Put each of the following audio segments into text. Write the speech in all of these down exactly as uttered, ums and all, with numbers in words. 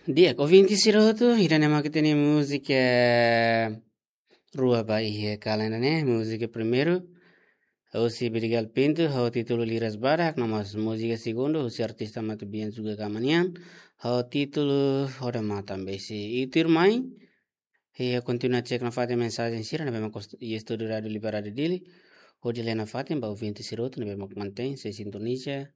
Di'ak, ouvinte sira hotu, ida-ne'e mak ita-nia múzika rua ba iha kalan ida-ne'e, múzika primeiru, husi Vidigal Pinto, ho títulu Liras Badak, no mós múzika segundu, husi artista Matubian Juga Kamanian, ho títulu Odamatan Besi. I tuirmai, iha kontinua cek nafatin mensajen sira ne'ebé mak kost-, iha estúdiu Rádiu Liberdade Dili, hodi lee nafatin ba ouvinte sira hotu ne'ebé mak mantein sei sintoniza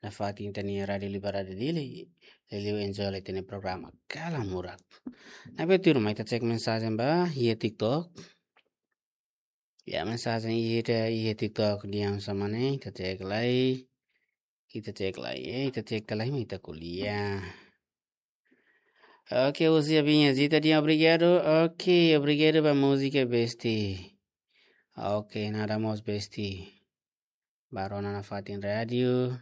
nafatin ita-nia Rádiu Liberdade Dili, liuliu enjoy ita-nia programa Kalan Murak. Ne'ebé tuirmai ita cek mensajen ba iha TikTok. Ya, mensajen ida iha TikTok di'ak sama ne'e, ita cek lai. Ita cek lai, eh, ita cek lai, ita ko'alia. Oke, husi Abinha Zita di'ak, obrigadu. Oke, obrigadu ba múzika Besti. Oke, nada mós Besti. Ba rona nafatin rádiu.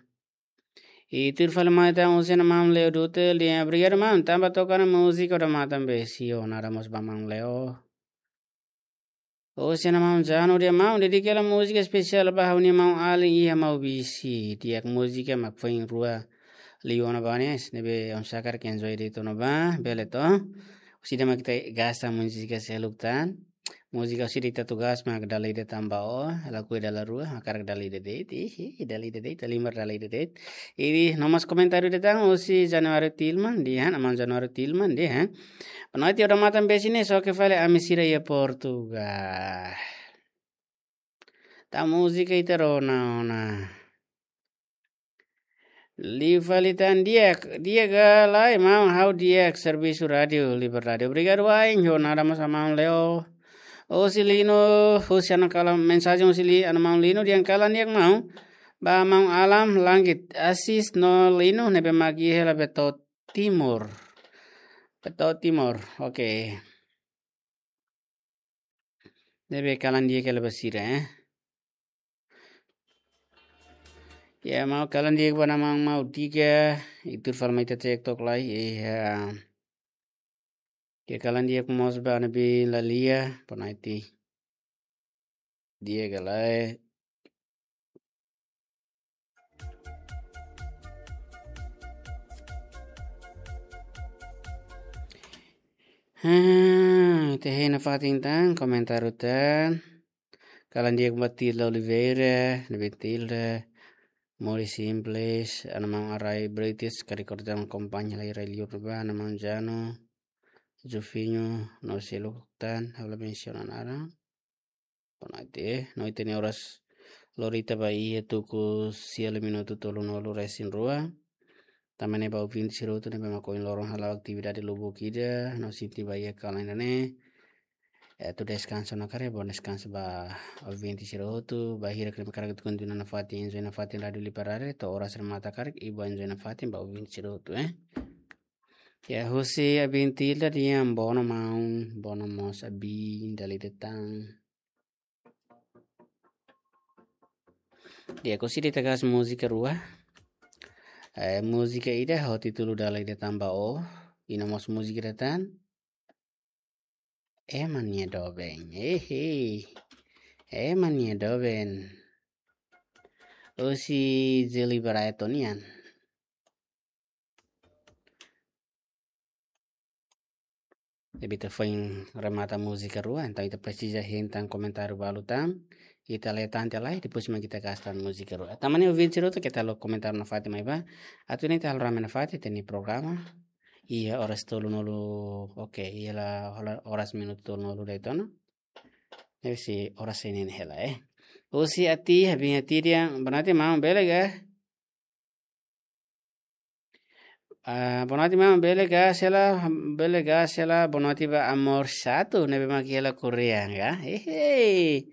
I tuir fali mai tan husi Ana Maun Leo Dutel di'ak, obrigadu maun, tanba toka ona múzika Odamatan Besi, nada mós ba Maun Leo. Husi Ana Maun Jano di'ak, maun, dedika hela múzika espesiál ba ha'u-nia maun alin iha Maubisse. Di'ak, múzika mak foin rua liu ona ba ne'e, ne'ebé oinsá hakarak enjoy de'it ona ba, bele to. Husi ida mak ita gasta múzika seluk tan. Múzika husi ida ita tugas mak dala ida tan ba ó, lakohi dala rua, hakarak dala ida de'it, ih, ih, dala ida de'it, halimar dala ida de'it. I no mós komentáriu ida tan husi Januário Tilman, di'ak, Ana Maun Januário Tilman, di'ak. Boa noite, Odamatan Besi ne'e, xoke fali ami sira iha Portugal. Tan múzika ita rona ona. Liu fali tan di'ak, di'ak ka lae, maun, ha'u di'ak servisu Rádiu Liberdade. Obrigadu wa'in, ho nada mós Ana Maun Leo. Husi Lino, husi Ana Kalan, mensajen husi Li-, Ana Maun Lino, di'ak, kalan di'ak maun. Ba maun Alam Langit, Asis no Lino, ne'ebé mak iha hela Beto Timor. Beto Timor, oke. Ne'ebé kalan di'ak hela ba sira, eh. Ya, maun, kalan di'ak ba Ana Maun Maudika, i tuir fali mai ita cek tok lai, eh, ya. Ke kalan di'ak mós ba Ana Bi Lalia, boa noite. Di'ak ka lae. Hmm, ita hein nafatin tan, komentáriu tan. Kalan di'ak ba Tilda Oliveira, ne'ebé Tilda, Mori Simples, Ana Maun Arai British, karik oras tan akompaña lai rai liur ba, Ana Maun Jano, Jofinho, no seluk tan, ha'u la mensiona naran. Boa noite, eh. No ita-nia oras lorita ba iha tuku sia liu minutu tolunulu resin rua. Tanba ne'e ba ouvinte sira hotu ne'ebé mak ohin loron hala'o atividade lubuk ida, no sente ba iha kalan ida-ne'e. Eh, atu deskansa ona karik, bom deskansa ba ouvinte sira hotu, bainhira karik ita kontinua nafatin, enjoy nafatin Rádiu Liberdade, to'o oras remata karik, i bom enjoy nafatin ba ouvinte sira hotu, eh. Ya, husi Abin Tilda di'ak, bono maun, bono mós Abin, dala ida tan. Di'ak, husi ida ita gasta múzika rua. Eh, múzika ida ho títulu Dala Ida Tan ba Ó. I no mós múzika ida tan. Ema nia doben. Hehe. Ema nia doben. Husi Zeli Brighton nian. Ne'ebé ita foin remata múzika rua, entaun ita presiza hein tan komentáriu balu tan, ita lee tan tiha lai, depois mak ita gasta múzika rua. Tanba ne'e ouvinte sira hotu keta haluha komentáriu nafatin mai bá. Atu nune'e ita halo rame nafatin ita-nia programa. Iha oras tolunulu, oke, iha la, hola oras minutu tolunulu de'it ona. Ne'e sei oras sei neen hela, eh. Husi Ati, Abin Ati di'ak, boa noite maun, bele ka? Ah, boa noite maun, bele ka, sela, bele ka, sela, boa noite ba Amor Satu, ne'ebé mak iha la Koreia, ka? Hehe.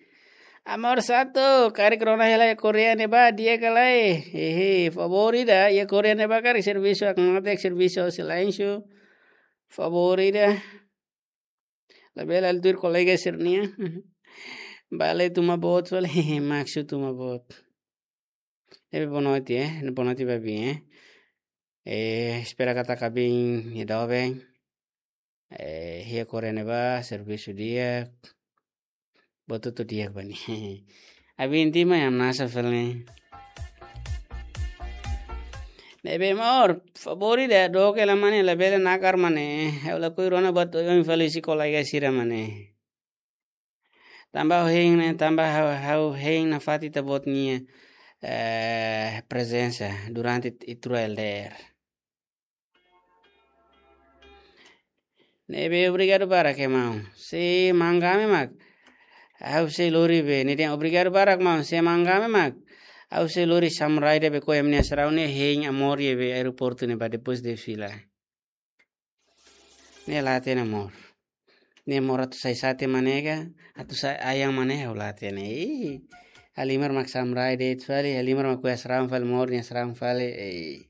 Amor Satu, karik rona hela iha Koreia ne'ebá, di'ak ka lae? Hehe, favór ida, iha Koreia ne'ebá karik servisu hakmatek, servisu silénsiu. Favór ida. Labele lalika kolega sira-nian. Bele tuma boot, bele maksud tuma boot. Ne'ebé boa noite, eh. Boa noite ba Abin, eh. Eh, espera katak Abin nia doben. Eh, iha Koreia ne'ebá, servisu di'ak. Buat hotu di'ak ba nia. Abin tima yang nasa fali. Ne'ebé amor, favór ida dook hela mane, labele nakar mane. Ha'u lakohi rona buat oioin fali husi kolega sira mane. Tanba ha'u hein ne'e, tanba ha'u, ha'u hein nafatin ita-boot nia, eh, prezensa durante ita-rua L D R. Ne'ebé obrigadu barak, maun. Se mangame mak. Ha'u sei lori be. Ne'e dehan obrigadu barak, maun. Se mangame mak. Ha'u sei lori samurai ida be ko'a ema nia asraun ne'e hein amor iha be aeroportu ne'ebá depois de fila. Ne'e la hatene amor. Ne'e amor atu sai sate mane ka, atu sai ayam mane ha'u la hatene. Ih, halimar mak samurai de'it fali, halimar mak ko'a asraun fali, amor nia asraun fali. Ih.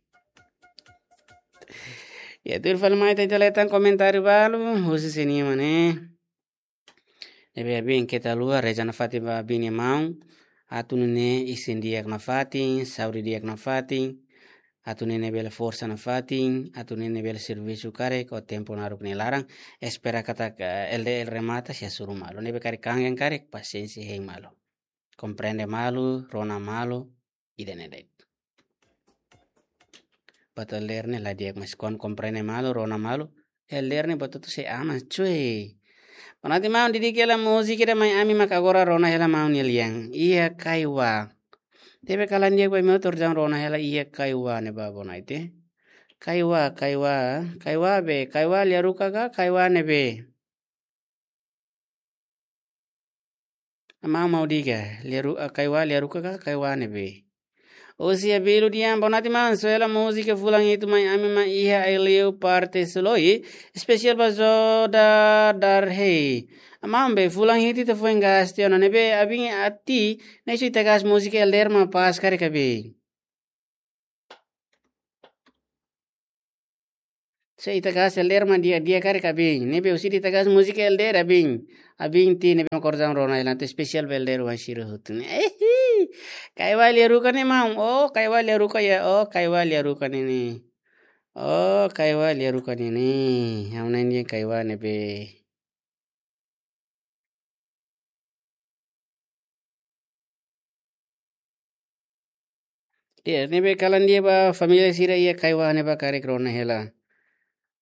Ya, tuir fali mai ita, ita leten komentáriu balu, husi sira-nia mane. Ne'ebé abin keta haluha reza nafatin ba abin nia maun, atu nune'e isin di'ak nafatin, saúde di'ak nafatin, atu nune'e bele forsa nafatin, atu nune'e bele servisu karik, ho tempu naruk nia laran, espera katak, eh, L D R remata, sei hasoru malu. Ne'ebé karik kangen karik, pasiénsia hein malu. Komprende malu, rona malu, ida-ne'e de'it. Buat L D R ne'e la di'ak, mas kuandu komprende malu, rona malu, L D R ne'e buat hotu sei aman, cuy. Bonatin maun, didik hela múzika ida mai ami mak agora rona hela maun nia lian. Iha Kaiwa. Tebe kalan di'ak ba imi hotu, rona hela Iha Kaiwa ne'ebá, Bonatin. Kaiwa, Kaiwa, Kaiwa be, Kaiwa lia ruka ka, Kaiwa ne'ebé. Maun, maun diga, lia ru-, ah, Kaiwa lia ruka ka, Kaiwa ne'ebé. Husi Abilu Dian, bonatin maun, soe hela múzika fulan hitu mai ami mak iha Aileu parte Suloi, espesiál ba Zoda Darhei. Maun be, fulan hitu ita foin gas tiha ona, ne'ebé abin ati, ne'e se ita gas múzika L D R mak pas karik abin. Se ita gas L D R mak di'ak, di'ak karik abin. Ne'ebé husi ita gas múzika L D R abin. Abin ati ne'ebé mak kordang rona hela, atu espesiál ba L D R oan sira hotu ne'e. Ehi. Kaiwa lia ruka ne'e maun. Oh, Kaiwa lia ruka ya. Oh, Kaiwa lia ruka ne'e ne'e. Oh, Kaiwa lia ruka ne'e ne'e. Ha'u na'in-di'ak Kaiwa ne'ebé. Ya, ne'ebé kalan di'ak ba família sira iha Kaiwa ne'ebá karik rona hela.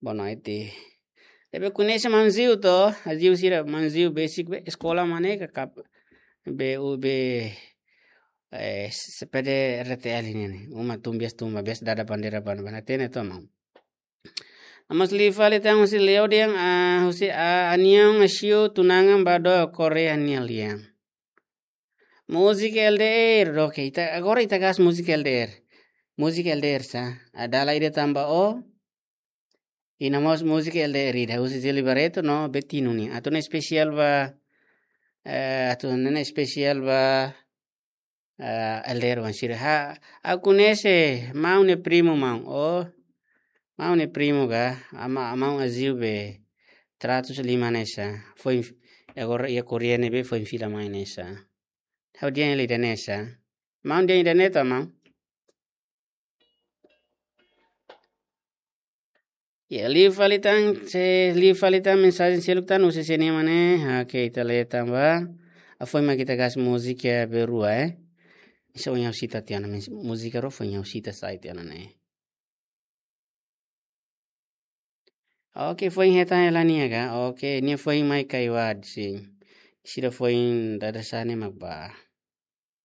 Bonatin. Ne'ebé koñese maun Ziu to, Ziu sira maun Ziu besik be eskola mane ka kap-, be u be, eh, S P D R T L ne'e ne'e. Uma tun bias tun ba bias dada bandeira ban ban hatene to maun. Amos liu fali tan husi Leo Dian, ah, husi, ah, Anion Asio Tunangan Bado Korea nia lian. Múzika L D R, oke, ita, agora ita gas múzika L D R. Múzika L D R sá, ah, dala ida tanba ó, i namós múzika L D R ida, husi Zili Barreto no Betino nian. Atu nune'e espesiál ba, eh, atu nune'e espesiál ba, ah, L D R oan sira. Ha, ha'u koñese maun nia primu maun. Oh, maun nia primu ka, ama, maun Aziu be tratus lima ne'e sá. Foin f-, agora iha Korea ne'ebé foin fila mai ne'e sá. Ha'u dehan hela ida-ne'e sá. Maun dehan ida-ne'e to maun. Ya, liu fali tan, se liu fali tan mensajen seluk tan husi sira-nia mane. Oke, ita lee tan ba. Hafoin mak ita gas múzika be rua, eh. Esa oin ha'u sita tiha ona, mens-, múzika rua foin ha'u sita sai tiha ona ne'e. Oke, foin hetan hela nia ka. Oke, nia foin mai Kaiwa, sin. Sira foin dada sá ne'e mak bá.